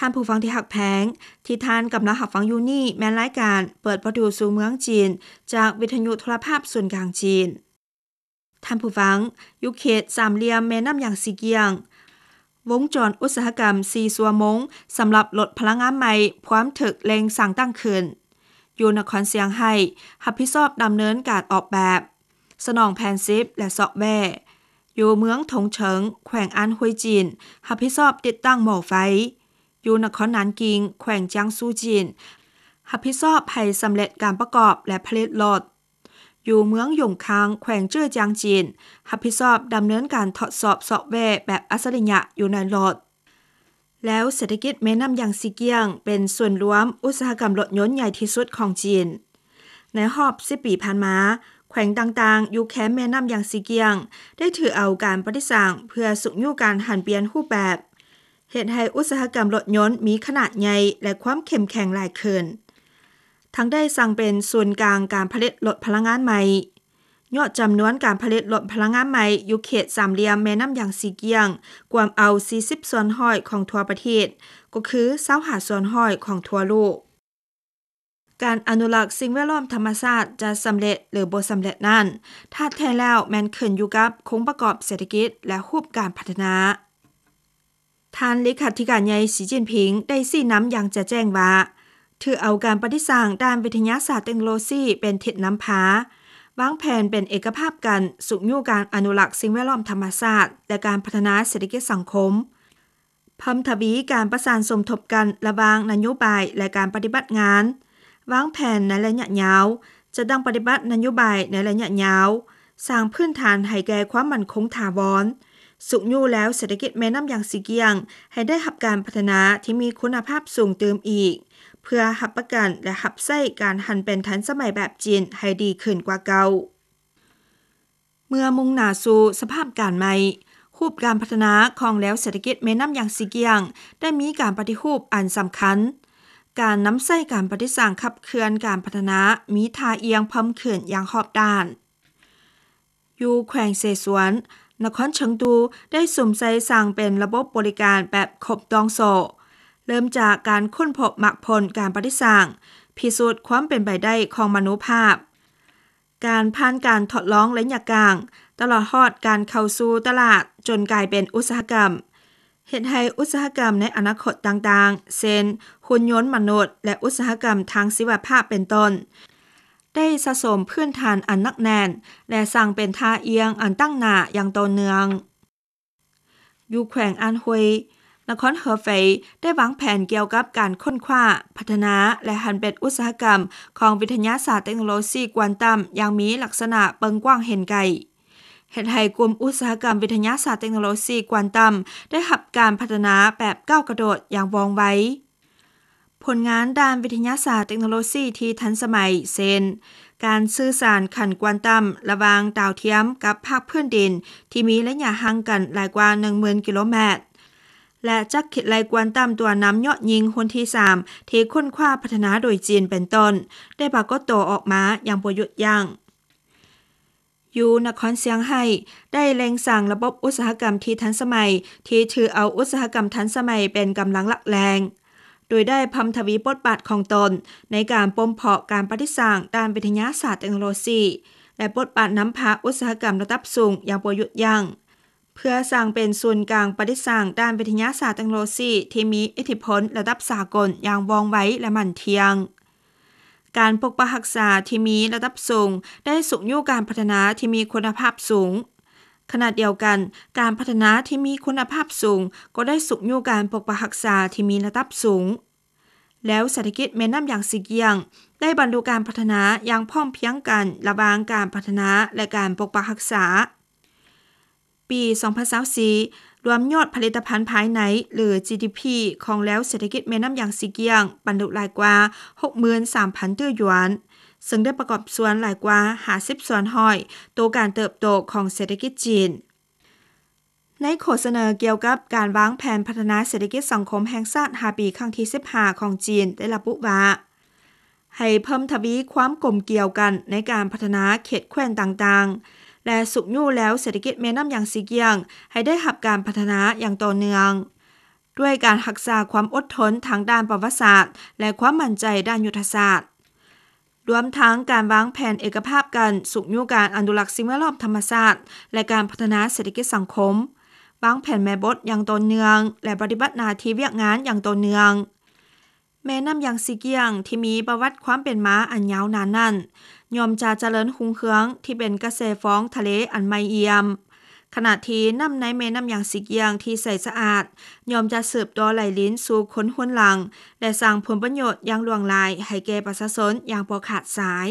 ທ່ານຜູ້ຟັງທີ່ຮັກແພງ, ທີ່ທ່ານກຳລັງຮັບຟັງຢູ່ນີ້ແມ່ນລາຍການເປີດປະຕູສູ່ເມືອງຈີນ ຈາກວິທະຍຸໂທລະພາບສູນກາງຈີນ. ທ່ານຜູ້ຟັງ, ຢູ່ເຂດສາມຫຼ່ຽມແມ່ນ້ຳຢາງຊີກຽງ, ວົງຈອນອຸດສາຫະກຳສີ່ຊົ່ວໂມງສຳລັບລົດພະລັງງານໃໝ່ພວມຖືກເລັ່ງສ້າງຕັ້ງຂຶ້ນ. ຢູ່ນະຄອນຊຽງໄຮ້ ຮັບຜິດຊອບດຳເນີນການອອກແບບ, ສະໜອງແຜນສິບ ແລະ ຊອບແວ. ຢູ່ເມືອງທົງເສີງ ແຂວງອານຮວຍຈີນ ຮັບຜິດຊອບຕິດຕັ້ງໝໍ້ໄຟ. ຢູ່ນະຄອນນານກິງ ແຂວງຈຽງຊູຈີນ ຮັບຜິດຊອບໃຫ້ສຳເລັດການປະກອບ ແລະ ຜະລິດລົດ. ຢູ່ເມືອງຢົງຄາງ ແຂວງເຈີຈຽງຈີນ ຮັບຜິດຊອບດຳເນີນການທົດສອບຊອບແວແບບອັດສະລິຍະຢູ່ໃນລົດ. ແລ້ວເສດຖະກິດແມ່ນ້ຳຢາງຊີກຽງ ເປັນສູນລວມອຸດສາຫະກຳລົດຍົນໃຫຍ່ທີ່ສຸດຂອງຈີນ. ໃນຮອບສິບປີຜ່ານມາ, ແຂວງຕ່າງໆຢູ່ແຄມແມ່ນ້ຳຢາງຊີກຽງ ໄດ້ຖືເອົາການປະຕິສັງເພື່ອຊຸກຍູ້ການຫັນປ່ຽນຮູບແບບ, ເຮັດໃຫ້ອຸດສາຫະກຳລົດຍົນມີຂະໜາດໃຫຍ່ ແລະ ຄວາມເຂັ້ມແຂງຫຼາຍຂຶ້ນ, ທັງໄດ້ສ້າງເປັນສູນກາງການຜະລິດລົດພະລັງງານໃໝ່. ຍອດຈຳນວນການຜະລິດລົດພະລັງງານໃໝ່ຢູ່ເຂດສາມຫຼ່ຽມແມ່ນ້ຳຢາງຊີກຽງ ກວມເອົາສີ່ສິບສ່ວນຮ້ອຍຂອງທົ່ວປະເທດ, ກໍຄືຊາວຫ້າສ່ວນຮ້ອຍຂອງທົ່ວໂລກ. ການອະນຸລັກສິ່ງແວດລ້ອມທຳມະຊາດຈະສຳເລັດ ຫຼື ບໍ່ສຳເລັດນັ້ນ, ທາດແທ້ແລ້ວແມ່ນຂຶ້ນຢູ່ກັບໂຄງປະກອບເສດຖະກິດ ແລະ ຮູບການພັດທະນາ. ທ່ານເລຂາທິການໃຫຍ່ ສີຈິ້ນຜິງ ໄດ້ຊີ້ນຳຢ່າງຈະແຈ້ງວ່າ, ຖືເອົາການປະຕິສັງດ້ານວິທະຍາສາດເຕັກໂນໂລຊີເປັນທິດນຳພາ, ວາງແຜນເປັນເອກະພາບກັນ, ຊຸກຍູ້ການອະນຸລັກສິ່ງແວດລ້ອມທຳມະຊາດ ແລະ ການພັດທະນາເສດຖະກິດສັງຄົມ, ເພີ່ມທະວີການປະສານສົມທົບກັນລະຫວ່າງນະໂຍບາຍ ແລະ ການປະຕິບັດງານ, ວາງແຜນໃນໄລຍະຍາວ, ຈັດຕັ້ງປະຕິບັດນະໂຍບາຍໃນໄລຍະຍາວ, ສ້າງພື້ນຖານໃຫ້ແກ່ຄວາມໝັ້ນຄົງຖາວອນ, ຊຸກຍູ້ແລວເສດຖະກິດແມ່ນ້ຳຢາງຊີກຽງໃຫ້ໄດ້ຮັບການພັດທະນາທີ່ມີຄຸນນະພາບສູງຕື່ມອີກ, ເພື່ອຮັບປະກັນ ແລະ ຮັບໃຊ້ການຫັນເປັນທັນສະໄໝແບບຈີນໃຫ້ດີຂຶ້ນກວ່າເກົ່າ. ເມື່ອມຸ່ງໜ້າສູ່ສະພາບການໃໝ່, ຮູບການພັດທະນາຂອງແລວເສດຖະກິດແມ່ນ້ຳຢາງຊີກຽງ ໄດ້ມີການປະຕິຮູບອັນສຳຄັນ. ການນຳໃຊ້ການປະຕິສັງຂັບເຄື່ອນການພັດທະນາມີທ່າອ່ຽງເພີ່ມຂຶ້ນຢ່າງຮອບດ້ານ. ຢູ່ແຂວງເສສວນ, ນະຄອນເຊີງຕູໄດ້ສຸມໃສ່ສ້າງເປັນລະບົບບໍລິການແບບຄົບຕອງໂສ້, ເລີ່ມຈາກການຄົ້ນພົບໝາກຜົນການປະຕິສັງ, ພິສູດຄວາມເປັນໄປໄດ້ຂອງມະໂນພາບ, ການຜ່ານການທົດລອງໄລຍະກາງ, ຕະຫຼອດຮອດການເຂົ້າສູ່ຕະຫຼາດຈົນກາຍເປັນອຸດສາຫະກຳ, ເຮັດໃຫ້ອຸດສາຫະກຳໃນອະນາຄົດຕ່າງໆ ເຊັ່ນ ຫຸ່ນຍົນມະນຸດ ແລະ ອຸດສາຫະກຳທາງຊີວະພາບເປັນຕົ້ນ ໄດ້ສະສົມພື້ນຖານອັນໜັກແໜ້ນ ແລະ ສ້າງເປັນທ່າອ່ຽງອັນຕັ້ງໜ້າຢ່າງຕໍ່ເນື່ອງ. ຢູ່ແຂວງອານຮວຍ, ນະຄອນເຮີເຟຍໄດ້ວາງແຜນກ່ຽວກັບການຄົ້ນຄວ້າ, ພັດທະນາ ແລະ ຫັນເປັນອຸດສາຫະກຳຂອງວິທະຍາສາດເຕັກໂນໂລຊີກວານຕຳຢ່າງມີລັກສະນະເບິ່ງກວ້າງເຫັນໄກ, ເຮັດໃຫ້ກຸ່ມອຸດສາຫະກຳວິທະຍາສາດເຕັກໂນໂລຊີກວານຕຳໄດ້ຮັບການພັດທະນາແບບກ້າວກະໂດດຢ່າງວ່ອງໄວ. ຜົນງານດ້ານວິທະຍາສາດເຕັກໂນໂລຊີທີ່ທັນສະໄໝ ເຊັ່ນ ການສື່ສານຂັ້ນກວານຕຳລະຫວ່າງດາວທຽມກັບພາກພື້ນດິນທີ່ມີໄລຍະຫ່າງກັນຫຼາຍກວ່າໜຶ່ງໝື່ນກິໂລແມັດ ແລະ ຈັກຄິດໄລ່ກວານຕຳຕົວນຳຍອດຍິງຮຸ່ນທີສາມ ທີ່ຄົ້ນຄວ້າພັດທະນາໂດຍຈີນເປັນຕົ້ນ ໄດ້ປາກົດໂຕອອກມາຢ່າງບໍ່ຢຸດຢັ້ງ. ຢູ່ນະຄອນຊຽງໄຮ້ ໄດ້ເລັ່ງສ້າງລະບົບອຸດສາຫະກຳທີ່ທັນສະໄໝ ທີ່ຖືເອົາອຸດສາຫະກຳທັນສະໄໝເປັນກຳລັງຫຼັກແຫຼ່ງ, ໂດຍໄດ້ເພີ່ມທະວີບົດບາດຂອງຕົນໃນການບົ່ມເພາະການປະຕິສັງດ້ານວິທະຍາສາດເຕັກໂນໂລຊີ ແລະ ບົດບາດນຳພາອຸດສາຫະກຳລະດັບສູງຢ່າງບໍ່ຢຸດຢັ້ງ, ເພື່ອສ້າງເປັນສູນກາງປະຕິສັງດ້ານວິທະຍາສາດເຕັກໂນໂລຊີທີ່ມີອິດທິພົນລະດັບສາກົນຢ່າງວ່ອງໄວ ແລະ ໝັ້ນທ່ຽງ. ການປົກປັກຮັກສາທີ່ມີລະດັບສູງໄດ້ຊຸກຍູ້ການພັດທະນາທີ່ມີຄຸນນະພາບສູງ. ຂະນະດຽວກັນ, ການພັດທະນາທີ່ມີຄຸນນະພາບສູງກໍໄດ້ຊຸກຍູ້ການປົກປັກຮັກສາທີ່ມີລະດັບສູງ. ແລ້ວເສດຖະກິດແມ່ນ້ຳຢາງຊີກຽງໄດ້ບັນລຸການພັດທະນາຢ່າງພ້ອມພຽງກັນລະຫວ່າງການພັດທະນາ ແລະ ການປົກປັກຮັກສາ. ປີສອງພັນຊາວສີ່ ລວມຍອດຜະລິດຕະພັນພາຍໃນ ຫຼື ຈີດີພີ ຂອງແລວເສດຖະກິດແມ່ນ້ຳຢາງຊີກຽງ ບັນລຸຫຼາຍກວ່າຫົກໝື່ນສາມພັນຕື້ຢວນ, ເຊິ່ງໄດ້ປະກອບສ່ວນຫຼາຍກວ່າຫ້າສິບສ່ວນຮ້ອຍຕໍ່ການເຕີບໂຕຂອງເສດຖະກິດຈີນ. ໃນຂໍ້ສະເໜີກ່ຽວກັບການວາງແຜນພັດທະນາເສດຖະກິດສັງຄົມແຫ່ງຊາດຫ້າປີຄັ້ງທີສິບຫ້າຂອງຈີນໄດ້ລະບຸວ່າ, ໃຫ້ເພີ່ມທະວີຄວາມກົມກ່ຽວກັນໃນການພັດທະນາເຂດແຂວງຕ່າງໆ ແລະ ຊຸກຍູ້ແລວເສດຖະກິດແມ່ນ້ຳຢາງຊີກຽງໃຫ້ໄດ້ຮັບການພັດທະນາຢ່າງຕໍ່ເນື່ອງ. ດ້ວຍການຮັກສາຄວາມອົດທົນທາງດ້ານປະຫວັດສາດ ແລະ ຄວາມໝັ້ນໃຈດ້ານຍຸດທະສາດ, ລວມທັງການວາງແຜນເອກະພາບກັນຊຸກຍູ້ການອະນຸລັກສິ່ງແວດລ້ອມທຳມະຊາດ ແລະ ການພັດທະນາເສດຖະກິດສັງຄົມ, ວາງແຜນແມ່ບົດຢ່າງຕໍ່ເນື່ອງ ແລະ ປະຕິບັດໜ້າທີ່ວຽກງານຢ່າງຕໍ່ເນື່ອງ. ແມ່ນ້ຳຢາງຊີກຽງ ທີ່ມີປະຫວັດຄວາມເປັນມາອັນຍາວນານນັ້ນ ຍ່ອມຈະຈະເລີນຮຸ່ງເຮືອງທີ່ເປັນກະແສຟອງທະເລອັນໃໝ່ອ່ຽມ, ຂະນະທີ່ນ້ຳໃນແມ່ນ້ຳຢາງຊີກຽງທີ່ໃສສະອາດ ຍ່ອມຈະສືບຕໍ່ໄຫຼລິນສູ່ຄົນຮຸ່ນຫຼັງ ແລະ ສ້າງຜົນປະໂຫຍດຢ່າງຫຼວງຫຼາຍໃຫ້ແກ່ປະຊາຊົນຢ່າງບໍ່ຂາດສາຍ.